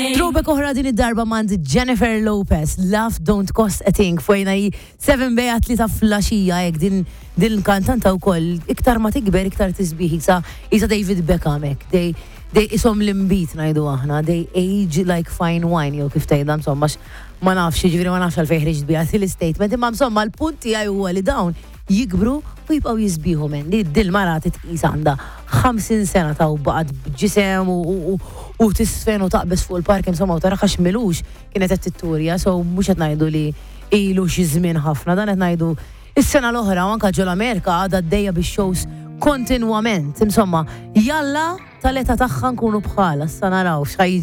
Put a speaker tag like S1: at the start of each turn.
S1: Throwback oħra din id-darba mand Jennifer Lopez, Love Don't Cost a Thing, fojna hi 7 bejja 3 flaxija hekk din din kantanta wkoll iktar ma tikber iktar tisbieħ isa isa David Beckham hekk. They they isom l-imbit ngħidu aħna, they age like fine wine jew kif tgħidha insomma ma nafx, jiġifieri ma nafx għalfejn ħriġt biha l-istatement, imma insomma l-punt tiegħi huwa li dawn jikbru u jibqgħu jisbieħu men. Li dil-mara titqis għandha 50 sena ta' u baqgħet b'ġisem u tisfen u taqbeż fuq il-park insomma u taraha x'milux kienet qed titturja, so mhux qed ngħidu li ilu xi żmien ħafna, dan qed ngħidu is-sena l-oħra u anke ġol-Amerika għadha għaddejja bix-shows kontinwament. Insomma, jalla tal-età tagħha nkunu bħala, issa naraw x'ħa jiġri.